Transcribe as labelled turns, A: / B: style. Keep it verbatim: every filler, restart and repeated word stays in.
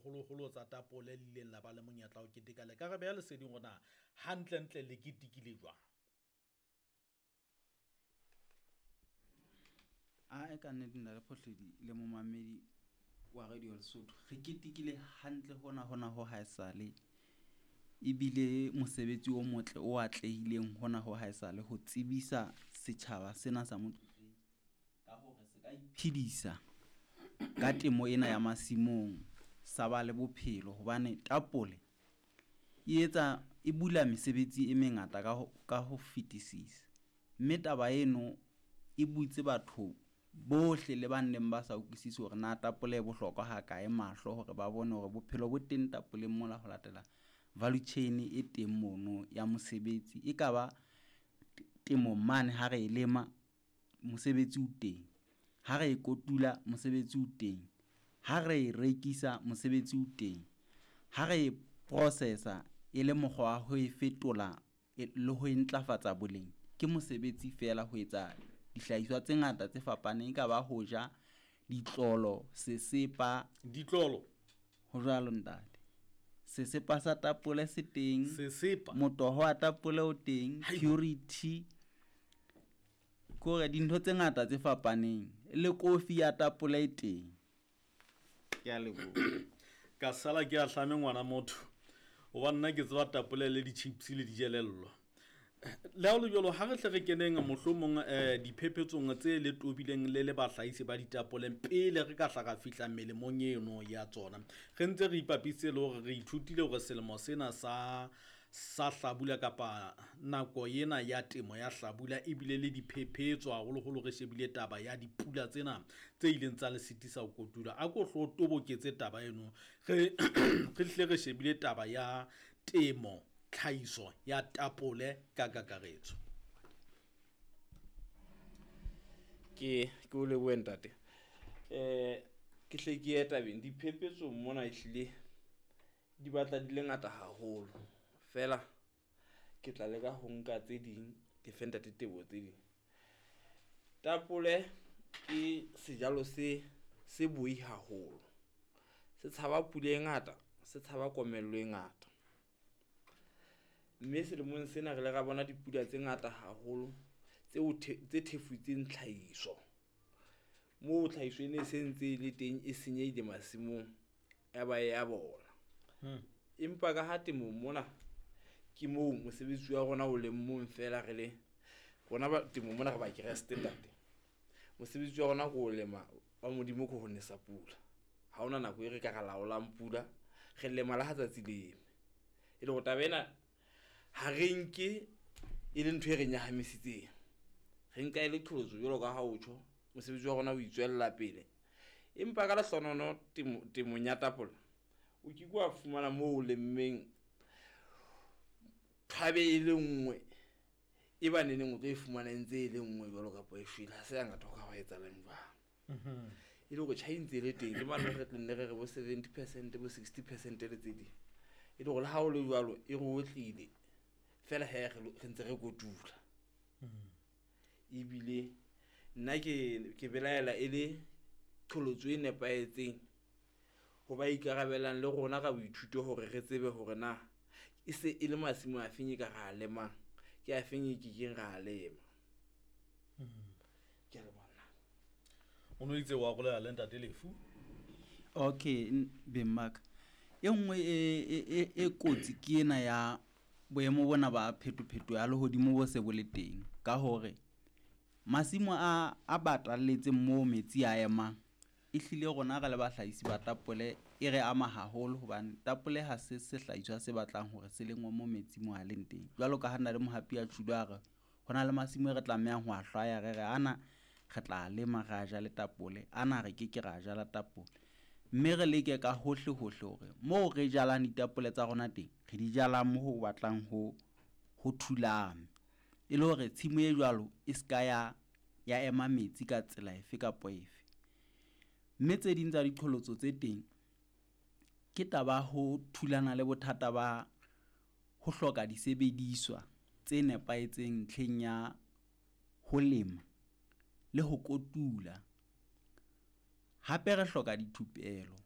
A: haholoholo tsa tapole le ileng la ba le monyetla wa ho keteka. Le ka re beha leseding hore na hantlentle le ketekile jwang?
B: Ae, ka nnete ntate Phohledi le momamedi wa Radio Lesotho, re ketekile hantle hona hona ho haesale. Ebile mosebetsi o motle o atlehileng hona ho haesale ho tsebisa setjhaba sena sa Motlotleng ka hore se ka iphedisa ka temo ena ya masimong, sa ba le bophelo. Hobane tapole e etsa e bula mesebetsi e mengata ka ho, ka ho fetisisa. Mme taba eno e butse batho bohle le ba neng ba sa utlwisise hore na tapole e bohlokwa ha kae mahlo, hore ba bone hore bophelo bo teng tapoleng mola ho latela value chain e teng mono ya mosebetsi. E ka ba temong mane ha re e lema, mosebetsi o teng. Ha re e kotula, mosebetsi o teng. Ha re e rekisa, mosebetsi o teng. Ha re e processa e le mokgwa wa ho e fetola le ho e ntlafatsa boleng, ke mosebetsi fela ho etsa dihlahiswa tse ngata tse fapaneng. E ka ba ho ja, ditlolo, sesepa.
A: Ditlolo?
B: Ho jwalo ntate. Sesepa sa tapole se teng.
A: Sesepa?
B: Motoho wa tapole o teng.
A: Hai.
B: Purity. Kore dintho tse ngata tse fapaneng. Le kofi ya tapole e teng. Ke a leboha.
A: Ka sala ke a hlame ngwana motho. Hobane nna ke tseba tapole le di-chips le dijelello. Le ha ho le jwalo, ha re hle re keneng mohlomong, eh, diphephetsong tse le tobileng le le bahlahisi ba ditapole pele re ka hla ra fihla melemong eno ya tsona. Re ntse re ipapisitse le hore re ithutile hore selemo sena sa, sa hlabula kapa nako ena ya temo ya hlabula ebile le diphephetso, haholoholo re shebile taba ya dipula tsena tse ileng tsa le sitisa ho kotula. A ko hlo toboketse taba eno, re, re hle re shebile taba ya temo, tlhahiso ya tapole ka kakaretso.
C: Ke, ke o lebohe ntate. Eh, ke hle ke ye tabeng. Diphephetso mona ehlile di batla di le ngata haholo. Feela ke tla leka ho nka tse ding, ke fe ntate Teboho tse ding. Tapole ke sejalo se, se boi haholo. Se tshaba pula e ngata, se tshaba komello e ngata. Mme selemong sena re ile ra bona dipula tse ngata haholo tseo the-, tse thefutseng tlhahiso. Moo tlhahiso e ne se ntse e le teng e senyehile masimong, ya ba ya bola.
A: Hmm.
C: Empa ka ha temong mona ke moo mosebetsi wa rona o leng mong fela, re le rona ba temong mona re ba Kreste ntate. Mosebetsi wa rona ke ho lema, wa Modimo ke ho nesa pula. Ha hona nako e re ka ra laolang pula, re lema le ha tsatsi le eme. E le hore taba ena ha re nke e le ntho e re nyahamisitseng. Re nka e le qholotso jwalo ka ha o tjho, mosebetsi wa rona o itswella pele. Empa ka lehlohonolono temo, temong ya tapole, o ke ke wa fumana moo o lemmeng thabe e le nngwe, e ba neneng o tlo e fumana e ntse e le nngwe jwalo kapa e shwele. Ha se hangata ho ka hwa etsahalang jwalo.
A: Mhm.
C: E le hore tjhai e ntse e le teng, ke mane re tla nne re re bo seventy percent, bo sixty percent le tse ding. E le hore le ha ho le jwalo, e re otlile fela he re lo-, re ntse re kotula.
A: Mhm.
C: Ebile nna ke, ke belaela e le qholotso e nepahetseng ho ba ikarabelang le rona ka boithuto hore re tsebe hore na e se e le masimo a feng e ka ra lemang, ke a feng e kekeng ra lema.
A: Mhm.
C: Ke a leboha nna.
A: O no itse wa rolela le ntate Lefu?
B: Okay, n-, beng ba ka. E nngwe e, e, e, e kotsi ke ena ya boemo bona ba phetopheto ya lehodimo bo se bo le teng, ka hore masimo a, a batalletseng moo metsi a emang, ehlile rona re le bahlahisi ba tapole e re ama haholo, hobane tapole ha se sehlahiswa se batlang hore se lengwe mo metsi mo a leng teng. Jwalo ka ha nna le Mohapi a tjholo a re ho na le masimo e re tlamehang ho a hlwaya, re re ana re tla lema ra jale tapole, ana re ke ke ra jala tapole. Mme re leke ka hohle hohle hore moo re jalang ditapole tsa rona teng, re di jala moo ho batlang ho, ho thulame, e le hore tshimo e jwalo e ska ya, ya ema metsi ka tsela efe kapa efe. Mme tse ding tsa diqholotso tse teng ke taba ho thulana le bothata ba ho hloka disebediswa tse nepahetseng ntlheng ya ho lema le ho kotula. Hape re hloka dithupelo